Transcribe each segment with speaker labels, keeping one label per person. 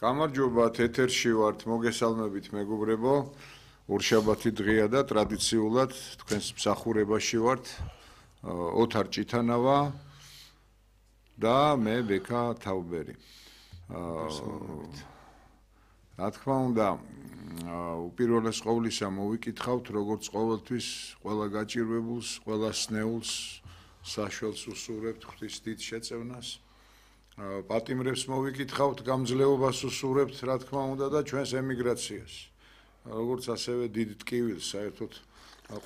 Speaker 1: გამარჯობა, ეთერში ვართ, მოგესალმებით მეგობრებო. ორშაბათი დღეა და ტრადიციულად თქვენს მსახურებაში ვართ. ოთარ ჭითანავა და მე ბექა თაუბერი. რა თქმა უნდა, უპირველეს ყოვლისა მოვიკითხავთ, როგორც ყოველთვის ყველა გაჭირვებულს, ყველა სნეულს, საშველს უსურვებთ ღვთის დიდ შეწევნას. პატიმრებს მოვიკითხავთ, გამძლეობას უსურვებთ, რა თქმა უნდა და ჩვენს ემიგრაციას. როგორც ასევე დიდ ტკივილს საერთოდ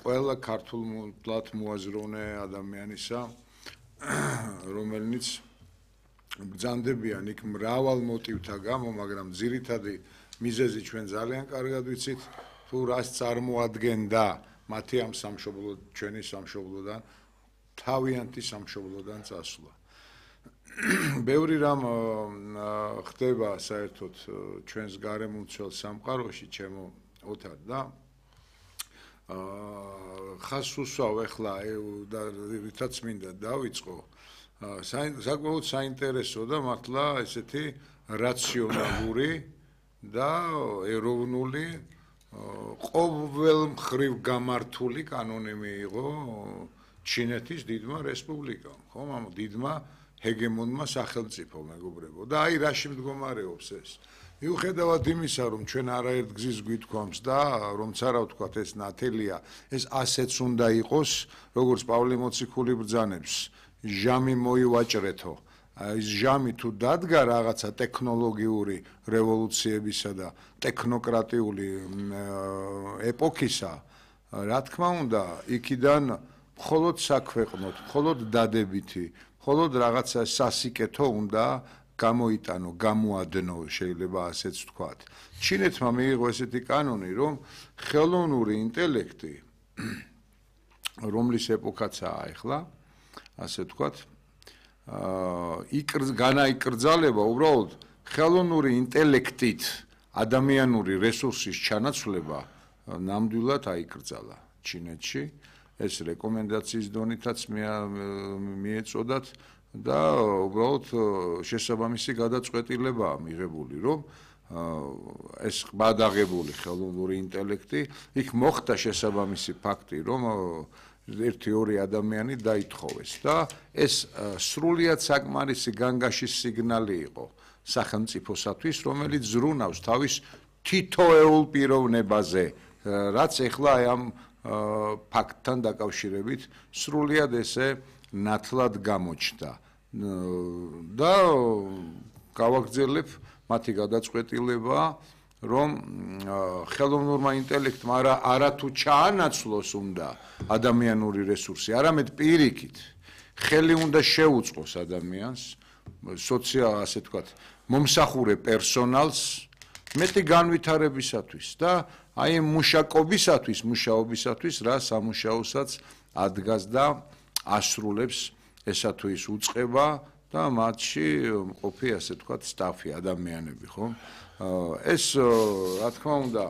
Speaker 1: ყველა ქართულად მოაზროვნე ადამიანისა, რომელნიც ბრძანდებიან იქ მრავალ მოტივთა გამო, მაგრამ ძირითადი მიზეზი ჩვენ ძალიან კარგად ვიცით, თუ რას წარმოადგენდა მათი ამ სამშობლო, ჩვენი სამშობლოდან, თავიანთი სამშობლოდან წასვლა. ბევრი რამ ხდება საერთოდ ჩვენს გარემომცველ სამყაროში, ჩემო ოთარ და ხას უსვავ ახლა და რითაც მინდა დავიწყო. საკმაოდ საინტერესო და მართლა ესეთი რაციონალური და ეროვნული ყოველ მხრივ გამართული კანონი მიიღო ჩინეთის დიდმა რესპუბლიკამ, ხომ, ამ დიდმა ჰეგემონმა სახელმწიფო მეგობრებო და აი რაში მდგომარეობს ეს. მიუხედავად იმისა, რომ ჩვენ არაერთ გზის გვითქვამს და რომც არა ვთქვათ ეს ნათელია, ეს ასეც უნდა იყოს, როგორც პავლე მოციქული ბრძანებს, ჟამი მოივაჭრეთო. ეს ჟამი თუ დადგა რაღაცა ტექნოლოგიური რევოლუციებისა და ტექნოკრატიული ეპოქისა, რა თქმა უნდა, იქიდან მხოლოდ საქვეყნოთ, მხოლოდ დადებითი, მხოლოდ რაღაცა სასიკეთო უნდა გამოიტანო, გამოადნო, შეიძლება ასეც ვთქვათ. ჩინეთმა მიიღო ესეთი კანონი, რომ ხელოვნური ინტელექტი, რომლის ეპოქაცაა ახლა, ასე ვთქვათ, განაიკრძალება უბრალოდ ხელოვნური ინტელექტით ადამიანური რესურსის ჩანაცვლება ნამდვილად აიკრძალა ჩინეთში. ეს რეკომენდაციის დონითაც მიეწოდათ და უბრალოდ შესაბამისი გადაწყვეტილებაა მიღებული, რომ ეს ყბადაღებული ხელოვნური ინტელექტი იქ მოხდა შესაბამისი ფაქტი, რომ 1-2 ადამიანი დაითხოვეს და ეს სრულიად საკმარისი განგაშის სიგნალი იყო სახელმწიფოსათვის, რომელიც ზრუნავს თავის თითოეულ პიროვნებაზე, რაც ახლა ამ ფაქტთან დაკავშირებით სრულიად ესე ნათლად გამოჩნდა და გავაგრძელებ მათი გადაწყვეტილება, რომ ხელოვნურმა ინტელექტმა არათუ ჩაანაცვლოს უნდა ადამიანური რესურსი, არამედ პირიქით ხელი უნდა შეუწყოს ადამიანს, ასე ვთქვათ, მომსახურე პერსონალს მეტი განვითარებისათვის და აი მუშაობისათვის, რა სამუშაოსაც ადგას და ასრულებს ესა თუ ის უწყება და მათში მყოფი, ასე ვთქვათ, სტაფი, ადამიანები, ხო? ეს, რა თქმა უნდა,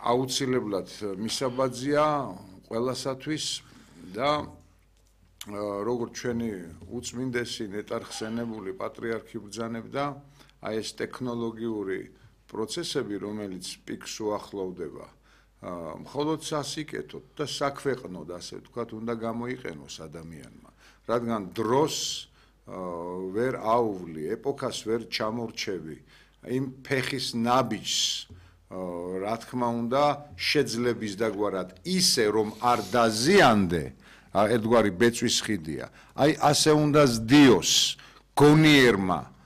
Speaker 1: აუცილებლად მისაბაძია ყველასათვის და როგორც ჩვენი უწმინდესი ნეტარხსენებული პატრიარქი ბრძანებდა, აი ეს ტექნოლოგიური პროცესები, რომელიც პიკს უახლოვდება, მხოლოდ სასიკეთოდ და საქვეყნოდ, ასე ვთქვათ, უნდა გამოიყენოს ადამიანმა, რადგან დროს ვერ აუვლი, ეპოქას ვერ ჩამორჩევი, იმ ფეხის ნაბიჯს, რა თქმა უნდა, შეძლების დაგვარად ისე, რომ არ დაზიანდე, ერთგვარი ბეწვის ხიდია, აი ასე უნდა ზდიოს გონიერმა,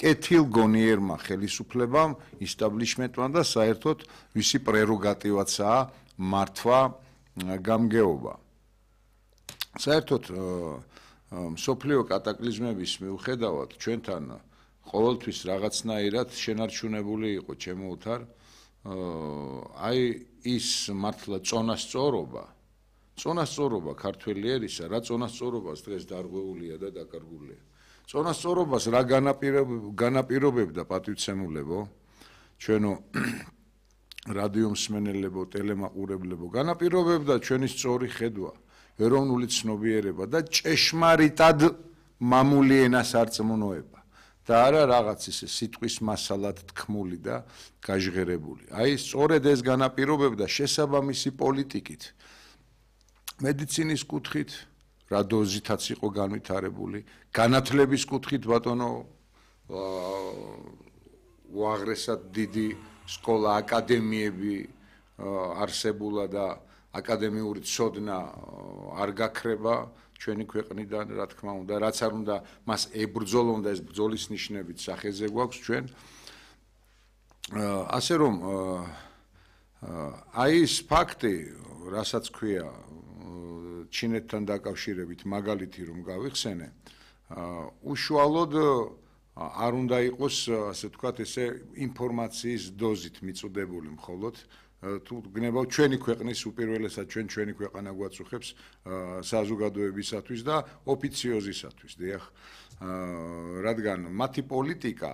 Speaker 1: კეთილგონიერმა ხელისუფლებამ, ისტაბლიშმენტმა და საერთოდ ვისი პრეროგატივაცაა მართვა გამგეობა. საერთოდ მსოფლიო კატაკლიზმების მიუხედავად ჩვენთან ყოველთვის რაღაცნაირად შენარჩუნებული იყო, ჩემო ოთარ, აი ის მართლა წონასწორობა ქართველი ერისა, რა წონასწორობას დღეს დარღვეულია და დაკარგულია. წონასწორობას რა განაპირობებდა პატივცემულებო, ჩვენო რადიო მსმენელებო, ტელემაყურებლებო, განაპირობებდა ჩვენი სწორი ხედვა, ეროვნული ცნობიერება და ჭეშმარიტად მამული ენას არწმუნოება. და არა რაღაც ისე სიტყვის მასალად თქმული და გაჟღერებული. აი სწორედ ეს განაპირობებდა შესაბამისი პოლიტიკით მედიცინის კუთხით რა დოზითაც იყო განვითარებული, განათლების კუთხით ბატონო უაღრესად დიდი სკოლა აკადემიები არსებულა და აკადემიური ცოდნა არ გაქრება ჩვენი ქვეყნიდან, რა თქმა უნდა, რაც არ უნდა მას ებრძოლონ და ეს ბრძოლის ნიშნებით სახეზე გვაქვს ჩვენ. ასე რომ აი ეს ფაქტი, რასაც ქვია ჩინეთთან დაკავშირებით მაგალითი რომ გავიხსენე, უშუალოდ არ უნდა იყოს, ასე ვთქვათ, ესე ინფორმაციის დოზით მიწოდებული მხოლოდ თუ გნებავ ჩვენი ქვეყნის უპირველესად ჩვენი ქვეყანა გვაწუხებს საზოგადოებისათვის და ოფიციოზისათვის, დიახ, რადგან მათი პოლიტიკა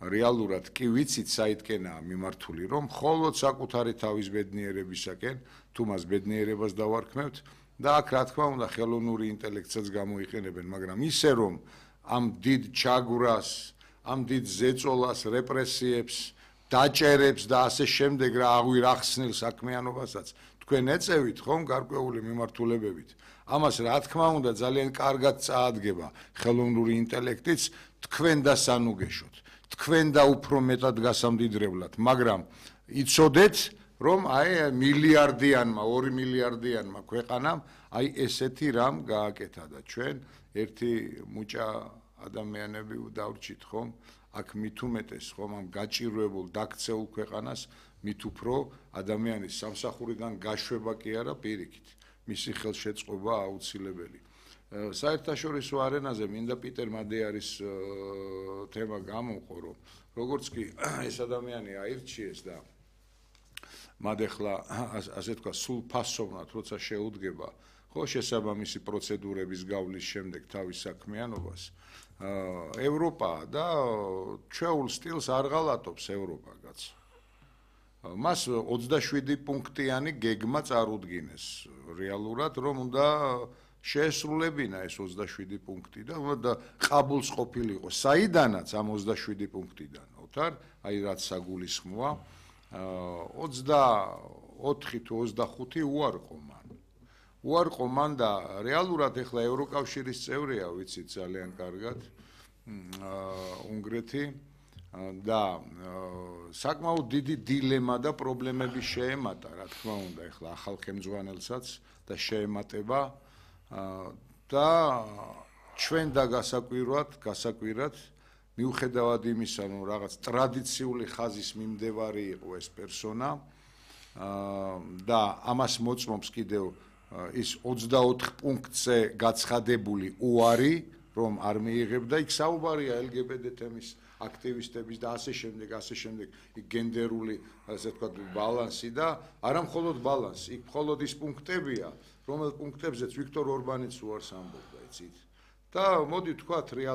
Speaker 1: რეალურად კი ვიცით საითკენაა მიმართული, რომ მხოლოდ საკუთარი თავის ბედნიერებისაკენ, თუ მას ბედნიერებას დავარქმევთ და აქ რა თქმა უნდა ხელოვნური ინტელექტსაც გამოიყენებენ, მაგრამ ისე რომ ამ დიდ ჩაგვრას, ამ დიდ ზეწოლას, რეპრესიებს დაჭერებს და ასე შემდეგ რა აღვირახსნილ საქმიანობასაც თქვენ ეწევით ხომ გარკვეული მიმართულებებით. ამას რა თქმა უნდა ძალიან კარგად წაადგება ხელოვნური ინტელექტიც თქვენ და სანუგეშოთ. თქვენ და უფრო მეტად გასამდიდრებლად, მაგრამ იცოდეთ რომ აი მილიარდიანმა, 2 მილიარდიანმა ქვეყანამ აი ესეთი რამ გააკეთა და ჩვენ ერთი მუჭა ადამიანები დავრჩით ხომ აქ მით უმეტეს ხომ ამ გაჭირვებულ დაქცეულ ქვეყანას მით უფრო ადამიანის სამსახურიდან გაშვება კი არა პირიქით მისი ხელშეწყობა აუცილებელი. საერთაშორისო არენაზე მინდა პიტერ მადეარის თემა გამოვყო რომ როგორც კი ეს ადამიანი აირჩიეს და მად ახლა ასე თქვა სულ ფასოვნად როცა შეუდგება ხო შესაბამისი პროცედურების გავლის შემდეგ თავის საქმიანობას ევროპა და ჩვეულ სტილს არ ღალატობს ევროპა კაც. მას 27 პუნქტიანი გეგმა წარუდგინეს რეალურად რომ უნდა შეესრულებინა ეს 27 პუნქტი და უნდა ყაბულს ყოფილიყო საიდანაც ამ 27 პუნქტიდან ოთარ აი რაც საგულისხმოა 24 თუ 25 უარყო მან და რეალურად ახლა ევროკავშირის წევრია ვიცით ძალიან კარგად უნგრეთი და საკმაოდ დიდი დილემა და პრობლემები შეემატა რა თქმა უნდა ახლა ახალ ხელმძღვანელსაც და შეემატება და ჩვენ და გასაკვირად მიუხედავად იმისა რომ რაღაც ტრადიციული ხაზის მიმდევარი იყო ეს პერსონა და ამას მოწმობს კიდევ ის 24 პუნქტზე გაცხადებული უარი რომ არ მიიღებდა იქ საუბარია LGBT თემის აქტივისტების და ასე შემდეგ იქ გენდერული ასე ვთქვათ ბალანსი და არა მხოლოდ ბალანსი იქ მხოლოდ ის პუნქტებია რომელ პუნქტებზეც ვიქტორ ორბანიც უარს ამბობდა იცით და მოდი ვთქვათ